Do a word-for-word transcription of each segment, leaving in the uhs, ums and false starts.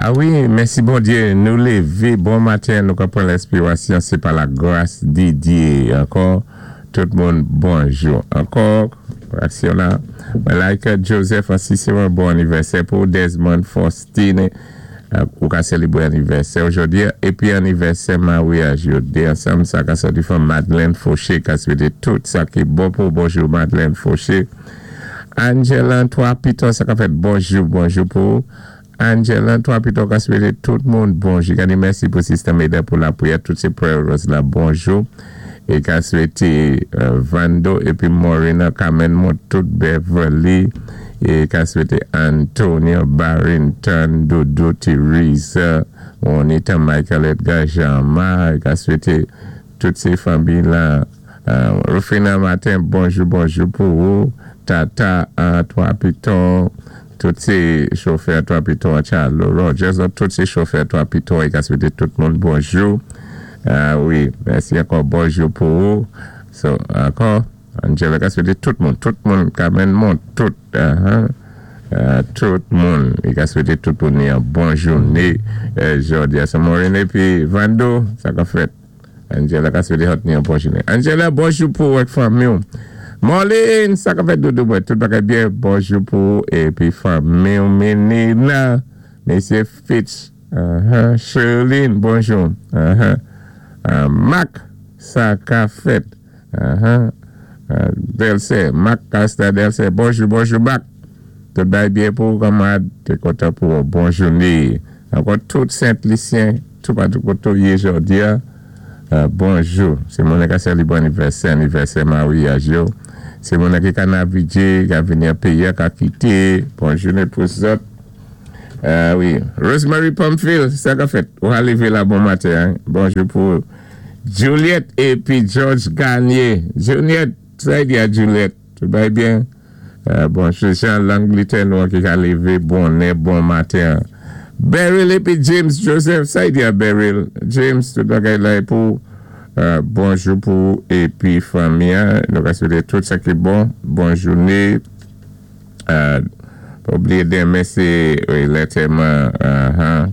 A wi, mèsi Bondyé, nou lévé, bon maten, nou ka pran lenspirasyon, sé pa la gras di Dyé. Ankò, tout moun, bonjou. Ankò, aksyon la, Malaika Joseph, Cicero, bon anivèsè pou Desmond Faustine, ou ka sélébwé anivèsè jòdi a, épi anivèsè maryaj yo, dé ansanm, sa ka sòti from Madeleine Fauché, ka swété tout sa ki bon pou bonjou Madeleine Fauché. Angela, Trois Pitons, sa ka fèt bonjou, bonjou pou Angela, Trois Pitons, ka swété tout moun bonjou. Gani mèsi pou Sister Meda pou lapriyè, tout sé prayers la, bonjou. É ka swété euh, Vando épi Morena, Carmen Mont, tout Beverly. É ka swété Antonio Barrington, Dodo Theresa, Juanita Michael Edgar Jean-Marc, ka swété tout sé fanmi la. Euh, Rufina Matin, bonjou, bonjou pou ou. Tata, un, Trois Pitons, tout sé chofè Trois Pitons, Charles Rogers, tout sé chofè Trois Pitons, é ka swété tout moun bonjou. Ah wi, mèsi ankò, bonjou pou ou. So, ankò, Angela ka swété tout moun, tout moun, Carmen Mont, tout, uh-huh, uh, tout moun, i ka swété tout moun yon bon jouné, euh, jòdi a. So, Maureen épi Vando, sa ka fèt. Angela ka swété hot ni yon bon jouné. Angela, bonjou pou ou ak fanmi. Marlene, sa ka fèt doudou mwen, tout bagay byen, bonjou pou ou, épi fanmi, Menina, Mesye Fitch, uh-huh, Sherlyn, bonjou, uh-huh. Uh, Mac, sa ka fèt, uh-huh. Uh, Delce, Mac Casta Delce, bonjou, bonjou Mac. Tout bagay byen pou ou, kanmarad, té kontan pou ou, bon jouné. Ankò tout Sent-Lisyen, tout patou koté ou yé jòdi a, euh, bonjou. Sé moun ka sélébwé anivèsè, anivèsè maryaj yo. Sé moun ki ka navigé, ka vini an péyi, ka kité. Bon jouné pou zòt. Euh, wi. Rosemary Pamphile, sa ka fèt. Ou lévé la bon maten. Hein? Bonjou pou Juliette épi George Garnier. Juliette, sa di a Juliette. Tout va byen? Euh, bonjou, Jean Langletè nou ki ka lévé bonè, bon maten. Beryl épi James Joseph, sa di a Beryl. James, tout bagay la pou euh, bonjou pou épi fanmi. Hein. Nou ka swété tout sa ki bon. Bon jouné. Euh, pa oubliyé denmen sé wi, lantèman uh-huh,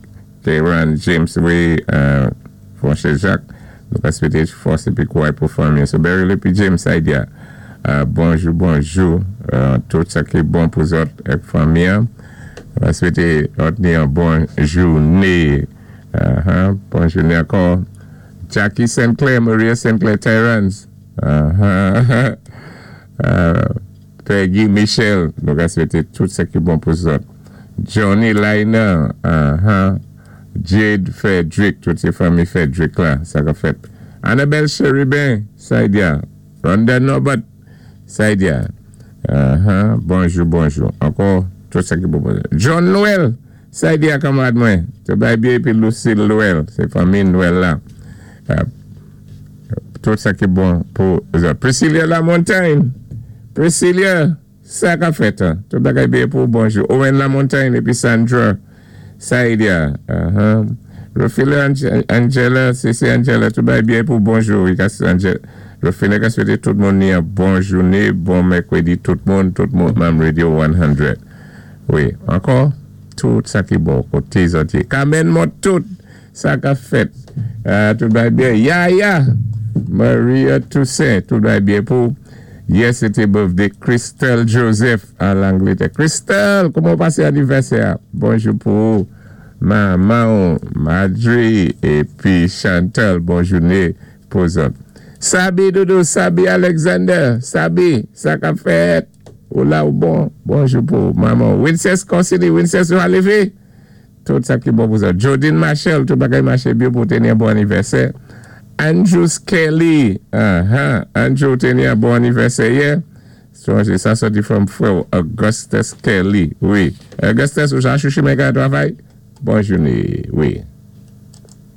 Karen James, wi, euh, Fonché Jacques. Nou ka swété fòs épi kouray pou fanmi. So Beryl épi James, sa di a. Euh, bonjou, bonjou. Euh, tout sa ki bon pou zòt ak fanmi. Nou ka swété yon bon jouné. Uh-huh, bon jouné ankò. Jackie Sinclair, Maria Sinclair Tyrans. Uh-huh. Euh, Peggy Michel, nou ka swété tout sa ki bon pou zòt. Johnny Liner, uh-huh. Jade Frederick, tout sé fanmi Frederick la, sa ka fèt. Annabelle Cherubin, sa di a. Rhonda Norbert, sa di a. Uh-huh. Bonjou, bonjou. Ankò, tout sa ki bon pou zòt. John Noël, sa di a kanmarad mwen. Tout bagay byen épi Lucille Noël, sé fanmi Noël la. Euh, tout sa ki bon pou zòt. Priscilla Lamontagne, Priscilla, sa ka fèt. Hein? Tout bagay byen pou bonjou. Owen Lamontagne épi Sandra, sa di a. Uh-huh. Rofila Angela, c'est Angela, tout bagay byen pou bonjou. Rofila ka swété tout moun ni yon bon jouné, bon mèkwédi, tout moun, tout moun, Mam Radio san. Wi, ankò, tout sa ki bon, koté zòt. Carmen Mont, tout sa ka fèt. Euh, tout bagay byen. Ya, ya, Maria Toussaint, tout bagay byen pou. Yes, c'était birthday Christelle Joseph à l'Angleterre. Christelle, kouman pasé anivèsè? Bonjou pou manman, Madri épi Chantal. Bon jouné pou zòt. Sabi Doudou, Sabi Alexander, Sabi, sa ka fèt. Ou la ou bon. Bonjou pou manman. Wincess Consigny, Wincess, ou lévé? Tout sa ki bon pou zòt. Jodine Marshall, tout bagay maché byen pou téni yon bon anivèsè. Andrew Kelly, uh-huh. Andrew téni yon bon anivèsè yè. Sonjé, sa sòti from frè Augustus Kelly. Wi. Augustus, ou jan chouchou men ka travay? Bon jouné, wi.